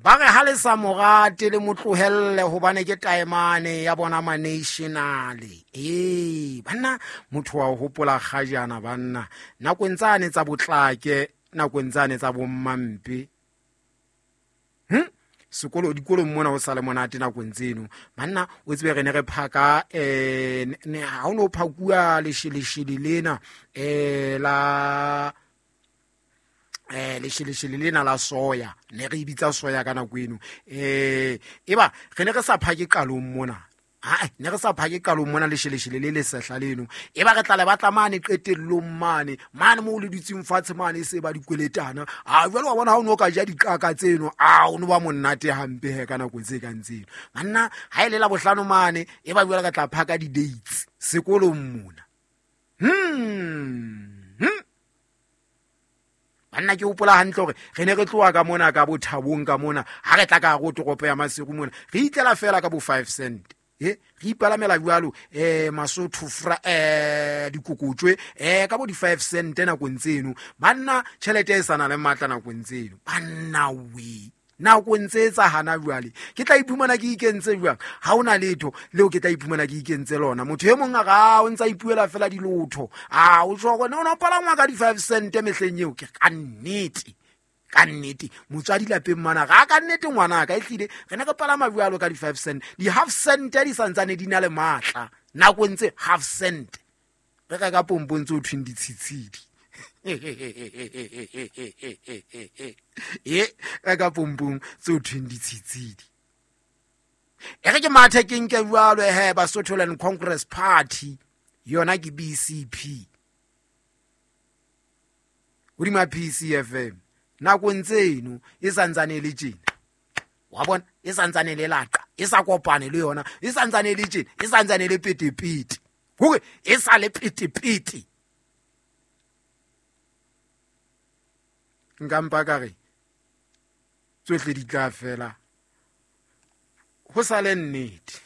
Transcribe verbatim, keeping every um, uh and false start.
Ba re ha le sa mo rate le mo tlohelle hobane ke taemane ya bona ma-national. Ee, banna motho wa ho hopola kgajana banna. Nakong tsane tsa botlake, nakong tsane tsa bommampe. Hm? Sekolo dikolong mona ho sa le monate nakong tseno. Banna o tsebe re ne re phaka eh ne ha o no phakuwa lesheleshele lena eh la eh lesheleshele lena la soya, ne re bitsa soya ka nako eno. Eh eba re ne re sa phake qalong mona. Ha ne re sa phake qalong mona lesheleshele le le sehla leno. Eba re tla le batla mane qetellong mane, mane moo le dutseng fatshe mane se ba dikweletana. A jwale wa bona ha o no ka ja diqaka tseno, a o no ba monate hampe he ka nako tse kang tseno. Banna ha ile la bohlano mane, eba jwale ka tla phaka di-dates sekolong mona. Hmm. Hmm. Banna ke hopola hantle hore re ne re tloha ka mona ka bothabong ka mona, ha re tla ka hare ho toropo ya Maseru mona, re itlela fela ka bo five cent. Eh, re ipalamela jwalo eh Masotho fra eh dikokotswe eh ka bo di five cent nakong tseno. Banna tjhelete e sa na le matla nakong tseno. Banna we nakong tse tsa hana jwale ke tla iphumana ke ikentse jwang? Ha hona letho leo ke tla iphumana ke ikentse lona. Motho e mong a ra o ntsa ipuela fela dilotho. A o tjho hore no palangwa ka di five cent mehleng eo. Ke ka nnete, ka nnete motswadi lapeng mana ga ka nnete ngwana ka ehlile re ne re palama jwalo ka di five cent. Di half cent di santsane di na le matla nakong tse half cent re reka pompong tse ho thweng ditshitshidi. E reka pompong tse ho thweng ditshitshidi. E re ke mathe ke nke jwalo he Basotho Land Congress Party yona ke B C P hodima P C F M nakong tseno e santsane le tjena. Wa bona e santsane le laqa, e sa kopane le yona, e santsane le tjena, e santsane le petepete. Hore e sa le petepete. Nka mpa ka re tsohle di tla fela ho sa le nnete.